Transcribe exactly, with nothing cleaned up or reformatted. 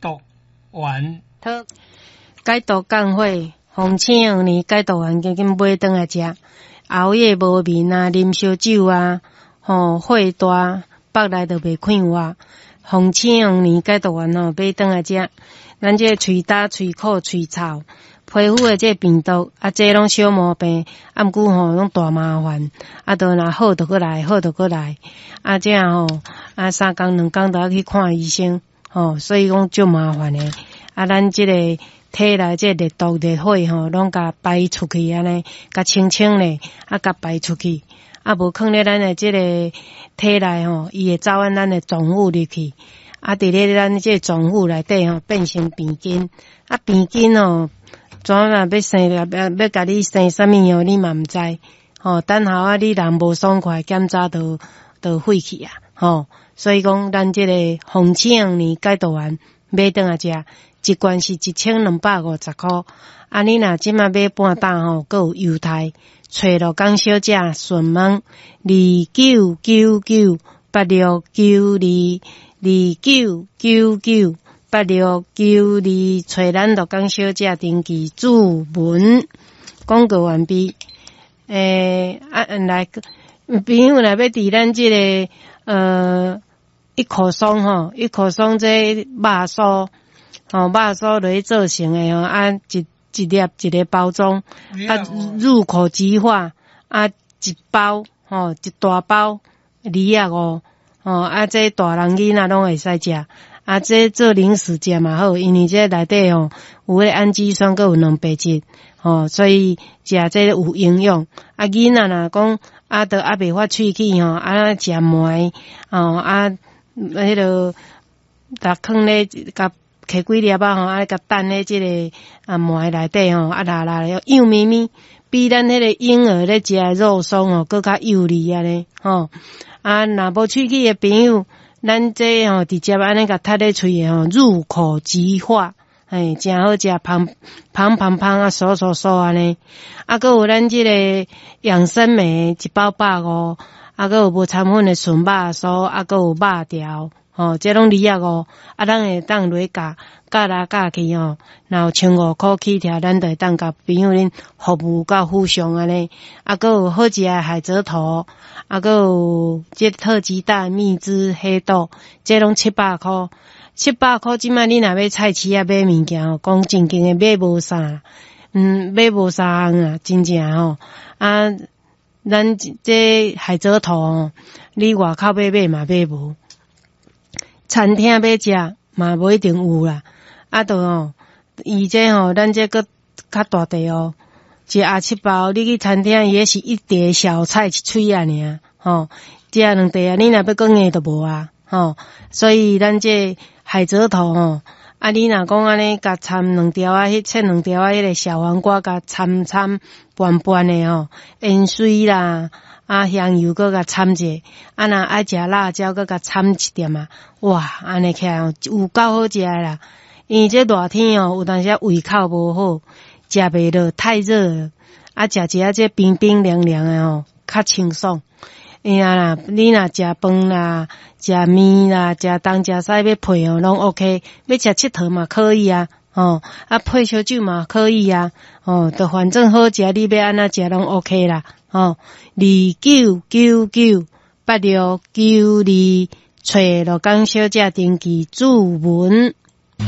毒丸。解毒降火，红青黄连解毒丸，紧紧买转来食。熬夜無眠啊，啉燒酒啊，吼火大，腹內就袂快活。紅青黃連解毒丸吼，買轉來食。咱這個喙焦、喙苦、喙臭，皮膚的這個病毒啊，這攏小毛病，啊，毋過吼攏大麻煩，啊，都若好就閣來，好就閣來，啊，這樣吼，啊，三工兩工就愛去看醫生，吼，所以講足麻煩的。啊，咱這個體內這個熱毒熱火吼，攏共排出去按呢，共清清咧，啊，共排出去。啊，無囥咧咱的這個體內吼，伊會走按咱的臟腑入去。啊，佇咧咱這個臟腑內底吼，變成病菌。啊，病菌吼，怎啊欲生要欲共你生啥物哦，你嘛毋知。吼，等下啊，你人無爽快，檢查就就廢去啊。吼，所以講，咱這個紅青黃連解毒丸買轉來食，一罐是一千兩百五十箍。啊，你若這馬買半擔吼，閣有優待。揣鹿港小姐詢問二九九九八六九二二九九九八六九二，揣咱鹿港小姐登記注文。廣告完畢。欸，啊，來，朋友若欲佇咱這個呃一口鬆吼，一口鬆這肉酥吼，肉酥落去做成的吼，啊一。一粒一個包裝，啊，入口即化，啊，一包吼，一大包二仔五，吼，啊，這大人囡仔攏會使食，啊，這做零食食嘛好，因為這內底吼有彼氨基酸，閣有蛋白質，吼，所以食這有營養。啊，囡仔若講啊，都猶未發喙齒吼，啊，食糜，吼，啊，彼个，共囥咧，共摕幾粒仔吼，啊，共擲咧這個啊糜內底吼，啊，拉拉幼咪咪，比咱彼個嬰兒咧食的肉鬆吼，閣較幼膩按呢，吼。啊，若無喙齒的朋友，咱這吼直接按呢共啜咧喙的吼，入口即化，嘿，誠好食，芳芳芳芳啊，酥酥酥按呢。啊，閣有咱這個養生莓一包百五，啊，閣有無摻粉的純肉酥，啊，閣有肉條。吼，這攏二仔五，啊，咱會當落去價，價來價去吼，若有千五箍起跳，咱就會當共朋友恁服務到府上按呢。啊，閣有好食的海蜇頭，啊，閣有這特級大蜜汁黑豆，這攏七百箍，七百箍這擺你若欲菜市仔買物件吼，講正經的買無啥，嗯，買無三項啊，真正吼，啊，咱這海蜇頭吼，你外口欲買嘛買無。餐廳欲食嘛無一定有啦，啊，著吼，伊這吼，咱這閣較大塊哦，一盒七包，你去餐廳伊彼是一碟小菜一喙仔爾，吼，這兩塊啊，你若欲閣硬就無啊，吼，所以咱這海蜇頭吼，啊，你若講按呢，共摻兩條仔，彼切兩條仔，彼個小黃瓜共摻摻拌拌的吼，芫荽啦。啊，香油閣共摻者，啊，若愛食辣椒，閣共摻一點仔，哇，按呢起來吼，有夠好食的啦。因為這熱天哦，有當時胃口無好，食袂落，太熱了，啊，食一下這冰冰涼涼的吼，較清爽。會啊啦，你若食飯啦，食麵啦，食東食西欲配哦，攏 OK。欲食𨑨迌嘛可以啊，吼，啊配燒酒嘛可以啊，吼，就反正好食，你欲按怎食攏 OK 啦。吼，二九九九八六九二，揣鹿港小姐登記注文。